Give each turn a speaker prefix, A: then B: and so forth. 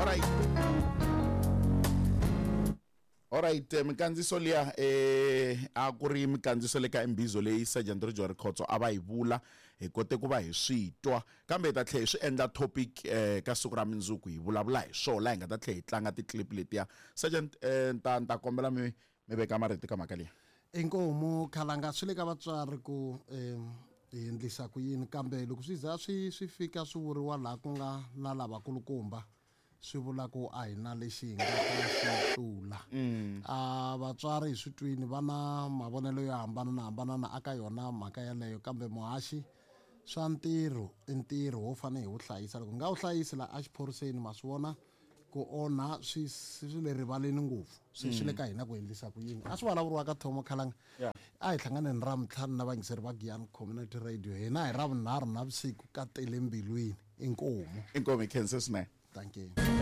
A: Alright. Alright, minkandziso liya eh a ku ri minkandziso le ka imbizo leyi Sergeant Rijori Khotso a va yi vula hi kote ku va hi swi twa kambe hi ta tlhela hi swi endla topic eh ka siku ra mindzuku hi vulavula hi swona laha hi nga ta tlhela hi tlanga ti-clip letiya Sergeant eh ni ta ni ta kombela mi mi veka marito ka mhaka liya.
B: Inkomu khalanga swi le ka vatswari ku um hi endlisa ku yini kambe loko swi za swi swi fika swi vuriwa laha ku nga na lavakulukumba swi vula ku a hi na lexi hi nga ta xi tlula a vatswari hi swi twini va na mavonelo yo hambana na hambana na aka yona mhaka yaleyo kambe muhaxi swa ntirho i ntirho wo fanele hi wu hlayisa loko hi nga wu hlayisi la exiphoriseni ma swi vona ku onha swi swi le rivaleni ngopfu se swi le ka hina ku endlisa ku yini a swi vulavuriwa ka thomo khalanga a hi hlanganeni ra mintlhanu na vayingiseri va Giyani Community Radio hina hi ra vunharhu na vusiku ka tele mbilwini inkomu
A: inkomu hi khense swinene
B: thank you.